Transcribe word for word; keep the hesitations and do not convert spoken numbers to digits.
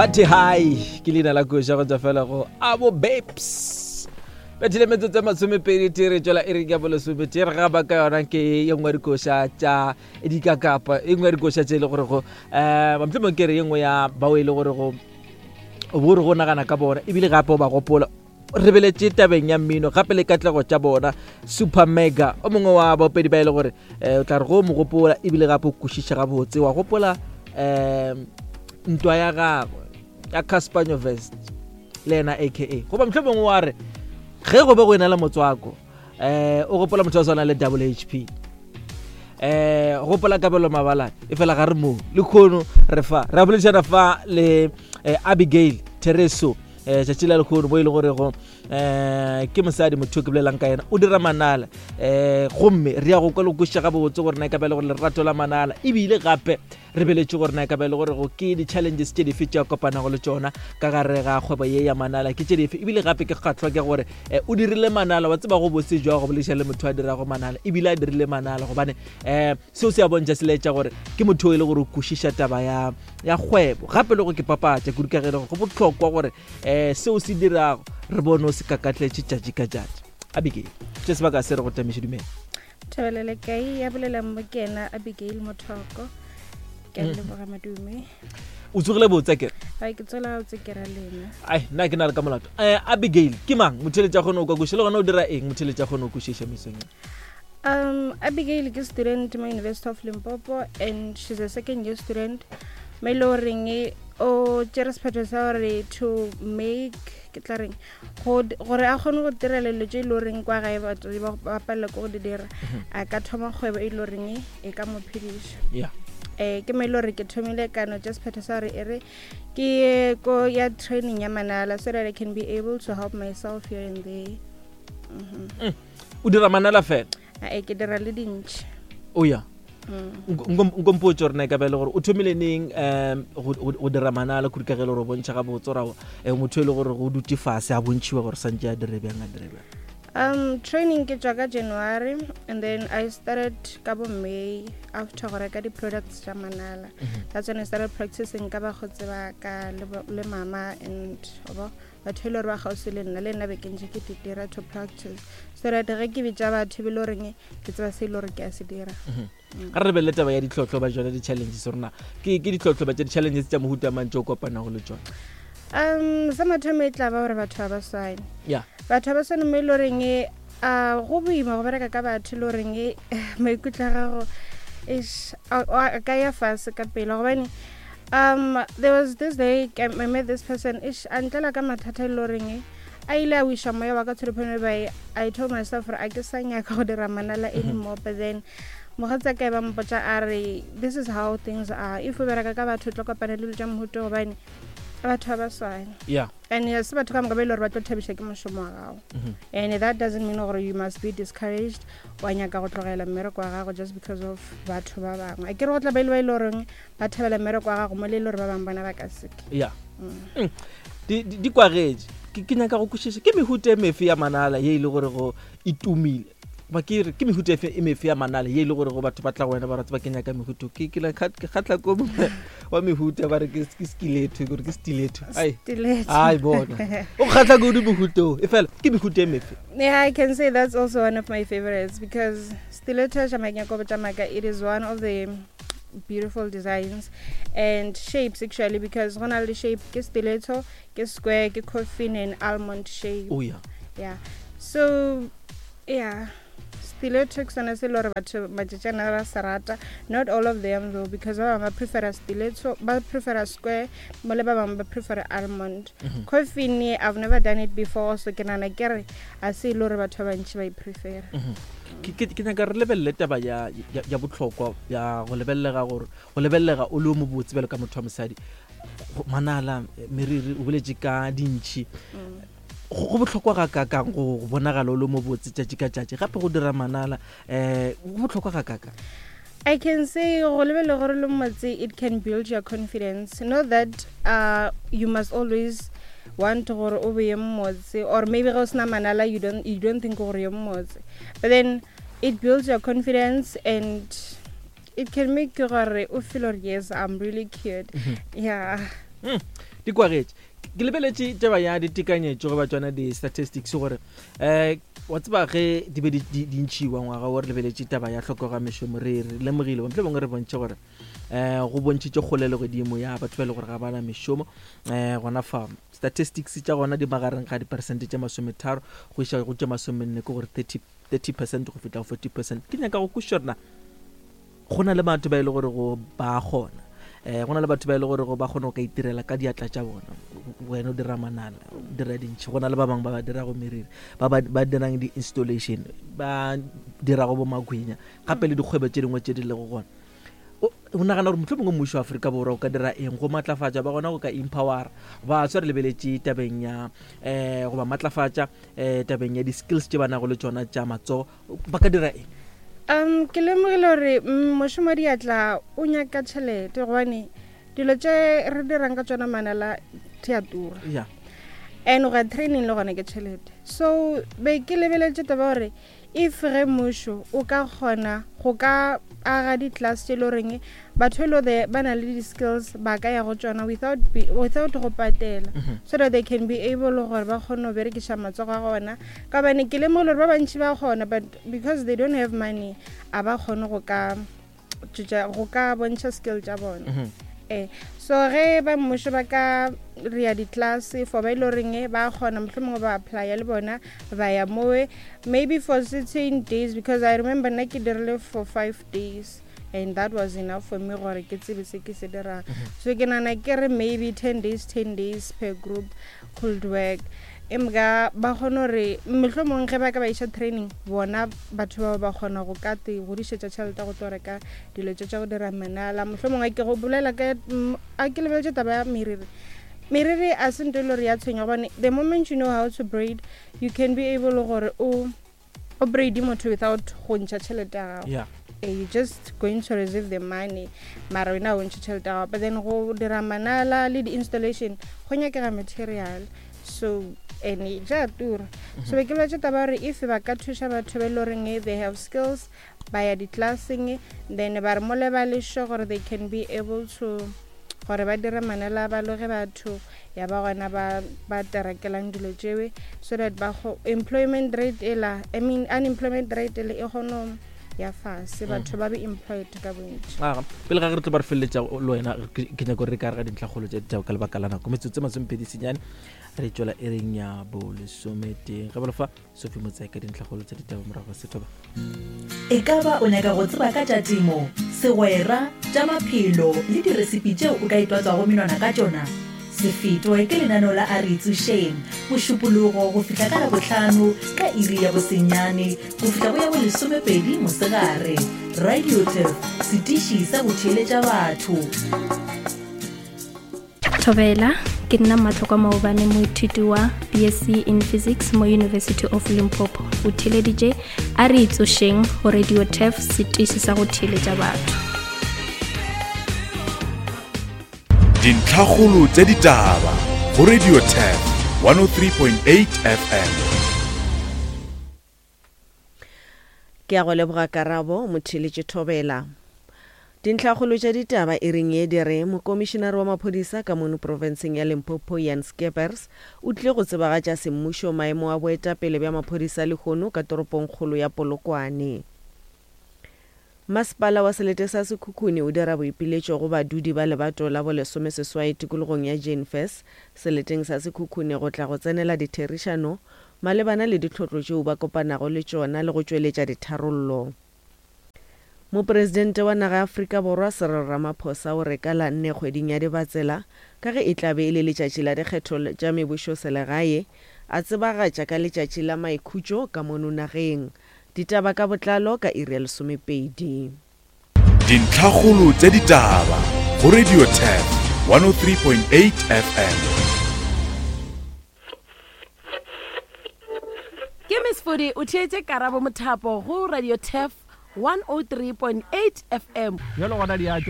Bathe hi ke leina la koša go tswa fela go Abo Babes. Bethile metsotso e masomepedi tee re tšwela e reng ya bolesomete re gaba ka yona ke ye nngwe ya dikoša tša dikakapa, e nngwe ya dikoša tše e le gorego um mohlomong ke re ye nngwe ya bao e le gorego o bo re go nagana ka bona ebile gape o ba gopola re beletše tabeng ya mmino gape le katlego tša bona. Super Mega o mongwe wa baopedi ba e le gore um o tla re go mo gopola ebile gape o kwešiša gabotse, wa gopola um ntwa ya gagwe ya Cassper Nyovest le yena aka goba mohlomongwe wa re ge go be go ena le motswako um o gopola motho wa swana le Double H P, um gopola Kabelo Mabalane. E fela ga re moo le kgono re fa re a boledišana fa le eh, Abigail Thereso um tšatši la lekgono bo e le gorego um ke mosadi motho yo ke bolelang ka yena o dira manala um gomme re ya go kwa le go kwešiša gabotse gore na e ka ba e le gore lerato la manala ebile gape re beletše gore na e ka ba e le gore go ke di-challenges tše dife tše a kopanago le tšona ka gare ga kgwebo ye ya manala ke tše dife. Ebile gape ke kgatlhwa ke gore um o dirile manala wa tseba go bose jwa go bolediša le motho a dirago manala ebile a dirile manala gobane um seo se a bontšha se laetša gore ke motho o e le gore o kwešiša taba ya ya kgwebo gape le go ke papatša kudu ka ge e le gore go bohlokwa gore um seo se dirago re bone o se kakatletše tšatši ka tšatši. Abigail, tše sebaka se re go tamiše, dumela. Thabelele kae ya bolelang mo ke ena Abigail Mothoko, ke a leboga madume. O tsogile botse kere? Ai, ke tswela gabotse, ke ra lena. Ai, nna ke na le ka molato. um Abigail ke mang? Motheletši a kgone go kwa kwešiša le gona o dira eng? Motheletši a kgone go kwešiša mesong ye. um abigail ke student mo University of Limpopo and she's a second year student mo e le goreng o tšere sephetho sa gore to make ke tla reng go gore a kgone go direla dilo tše e le goreng kwa gae batswadi ba ba palela ke go di dira, a ka thoma kgwebo e le goreng e ka mo phediša. Yeah um ke mo e le gore ke thomile kano tša sephetho sa gore e re ke ye ko ya training ya manala so that I can be able to help myself here and there mm -hmm. O dira manala fela? Ae, ke dira le dintšhi. O ya mm. nkompotse gore na e ka ba e le gore o thomile neng um go- go go dira manala kudu ka ge e le gore o bontšha gabotse ora um motho e le gore go dutse fase a bontšhiwa gore santse a dire bjang a dire bjang. um training ke tswa ka January and then I started ka bo May after go reka di-products tša manala. That's when I started practicing ka bakgotsi ba ka le bo- le mama and bo batho e le gore ba kgauswi le nna, le nna be ke ntše ke di dira to practice so that ge ke bitša batho be le goreng ke tseba se e le gore ke a se dira. Ga re lebelele taba ya ditlhotlho ba jone di-challenges rona ke ke ditlhotlho ba tša di-challenges tša mohuta mang tše o kopanago le tsone? um sa mathomo e tla ba gore batho ba ba swane. Ya batho ba swane mo e le goreng uh, go boima go bereka ka batho e le goreng maikutlo a gago ish, a a ka ya fase ka pele gobane um there was this day I I met this person, ish, a ntlela ka mathata e le goreng a ile a wiša moya wa ka to the point whereby I told myself gore a ke sa nyaka go dira manala anymore. But then mogatsa ka e ba mpotša a re, "This is how things are. If o bereka ka batho o tlo kopana le dilo tša mohuta gobane batho ba ba swane ya and se batho ka moka ba e le gore ba tlo thabiša ke mošomo wa gago and that doesn't mean gore you must be discouraged wa nyaka go tlogela mmereko wa gago just because of batho ba bangwe." A ke re go tla ba ile ba e le goreng ba thabela mmereko wa gago mo le e le gore ba bangwe bona ba ka seke. Ya Mm. di di- di kwagetše ke ke nyaka go kwešiša ke mehuta e mefe ya manala ye e le gore go e tumile ba ke re ke mehuta efe e mefe ya manala ye e le gore go batho ba tla go wena ba ratse ba ke nyaka mehuto ke ke la kgat- ke kgatla ko mongwe wa mehuta ba re ke ke stiletto gore ke stiletto ai. Stiletto. Ai bona o kgatla kudu mehuto e fela ke mehuta e mefe? Yeah, I can say that's also one of my favorites because stiletto Jamaica Jamaica, it is one of the beautiful designs and shapes actually, because go na le shape ke stiletto, ke square, ke coffin and almond shape. O ya Yeah. So yeah, stiletto ke sone se e le gore batho matšatšana ba se rata. Not all of them though, because ba bangwe ba prefera stiletto, ba prefera square, mo le ba bangwe ba prefera almond. Coffin, I've never done it before, so ke nagana ke re a se e le gore batho ba bantši ba e prefera. ke ke- ke nyaka re lebelele taba ya ya ya bohlokwa ya go lebelelega gore go lebelelega o le o mobotse bjalo ka motho wa mosadi. Go- manala eh, meriri o boletše ka dintšhi, go go bohlokwa ga kakang go go bonagala o le mobotse tšatši ka tšatši gape go dira manala um go bohlokwa ga kakang? I can say go lebele gore le motse, it can build your confidence. Not that uh, you must always want gore o be ye mmotse or maybe ge o sena manala you don't, you don't think gore ye mmotse, but then it builds your confidence and it can make you gore o feel gore, "Yes, I'm really cute." Yeah. Mm, di kwagetše. Ke lebeletše taba ya ditekanyetšo goba tsona di-statistics gore um wa tseba ge di be di di ntšhiwa ngwaga o re lebeletše taba ya tlhokego ya mešomo, re re lemogile motlho bongwe re bontšhe gore um go bontšhitše kgolelo godimo ya batho ba e le gore ga ba na mešomo. um gona fa statistics tša gona di magareng ga diperesente tše masometharo go iša go tše masomenne, ke gore thirty percent go fihla go forty percent. Ke nyaka go kwešiša gore na go na le batho ba e le gore go ba kgona, um go na le batho ba e le gore go ba kgona go ka itirela ka diatla tša bona. Wena o dira manala, o dira dintšhi, go na le ba bangwe ba ba dirago meriri, ba ba ba dirang di-installation, ba dirago bo magwinya, gape le dikgwebo tše dingwe tše di lego gona. O o nagana gore motlho mongwe mmušo wa Aforika Borwa o ka dira eng go matlafatša ba gona, go ka empowera baswa, re lebeletše tabeng ya um goba matlafatša um tabeng ya di-skills tše ba nago le tšona tša matsogo, ba ka dira eng? um ke lemogile gore mm, mošomo wa diatla o nyaka tšhelete, gobane dilo tše re dirang ka tsona manala di a tura. Ya and go ya training le gona ke tšhelete. So be ke lebeletše taba gore if ge mmušo o ka kgona go ka aga di-class tše e le goreng batho e le gore ba na le di-skills ba ka ya go tsona without, be, without go patela, so that they can be able gore ba kgone go berekiša matsogo a gona, ka gobane ke lemogile gore ba bantši ba kgona, but because they don't have money a ba kgone go ka tšwetša- go ka bontšha skill tša bona. Mhm. Eh so ge ba mmušo ba ka re ya di-class for ba e le goreng ba kgona, mohlomongwe ba applya le bona ba ya mowe maybe for certain days, because I remember nna ke dirile for five days and that was enough for me gore ke tsebe se ke se dirang. So ke nana ke re maybe ten days, ten days per group could work, emka ba kgone gore mohlomongwe ge ba ka ba iša training bona batho bao ba kgona go ka te godišetša tšhelete go tlo reka dilo tše tša go dira manala. Mohlomongwe ke go bolela ka mm, a ke lebeletše taba ya meriri. Meriri a se nto e le gore ya tshwenya, gobane the moment you know how to braid, you can be able gore o o braide motho without go ntšha tšhelete ya gago. Ya Eh, you just going to receive the money, mara wena o ntšhe tšhelete ya gago. But then go dira manala le di-installation go nyakega material, so and ja tura. So be ke lwetse taba gore if ba ka thuša batho ba e le goreng they have skills, ba ya di-classeng, then ba re mole ba le sure gore they can be able to gore ba dire manala, ba loge batho, ya ba gona ba ba terekelang dilo tšewe, so that ba go employment rate ela, I mean unemployment rate ele e kgone ya fase, batho ba be employed ka bontši. Aga, pele ga ge re tlo ba re feleletša le wena, ke ke nyako re ka re ga dintlhakgolo tša ditaba ka lebaka la nako, metsotso e masomepedi senyane re tswela e reng ya bolesometeng ge bolofa Sophie Motsae ka dintlhakgolo tša ditaba morago ga sethoba. E ka ba o nyaka go tseba ka tša temo, segwera, tša maphelo le diresipi tšeo o ka itwatswago menwana ka tšona? Se fetwe ke lenaneo la A Re Itsošeng, Mošupologo go fihla ka Labohlano ka iri ya bosenyane go fihla go ya bolesomepedi mosegare. Radio Turf, setiši sa go theeletša batho. Thobela, ke nna Matlhokwa Maobane, moithuti wa B S C in Physics mo University of Limpopo. O theeleditše A Re Itsošeng go Radio Turf, setiši sa go theeletša batho. Dintlhakgolo tša ditaba go Radio Turf one oh three point eight F M. Ke a go leboga karabo motheeletše. Thobela, dintlhakgolo tša ditaba e reng ye di re mokomišenare wa maphodisa ka mono profenseng ya Limpopo Jan Skeepers o tlile go tsebagatša semmušo maemo a boetapele bja maphodisa lehono ka toropongkgolo ya Polokwane. Masepala wa selete sa Sekhukhune o dira boipiletšo go badudi ba lebato la bolesomeseswai tikologong ya Jane Furse seleteng sa Sekhukhune go tla go tsenela ditherišano malebana le ditlhotlo tšeo ba kopanago le tšona le go tšweletša ditharollo. Mopresidente wa naga ya Afrika Borwa Cyril Ramaphosa o re ka la nne kgweding ya Dibatsela, ka ge e tla be e le letšatši la dikgetho tša mebušoselegae, a tsebagatša ka letšatši la maikhutšo ka mono nageng. Ditaba ka botlalo ka iri ya lesomepedi. Dintlhakgolo tša ditaba go Radio Turf one oh three point eight F M. Ke Miss Fodi, o theetše Karabo Mothapo go Radio Turf one oh three point eight F M. Bjalo gona di a tšwa.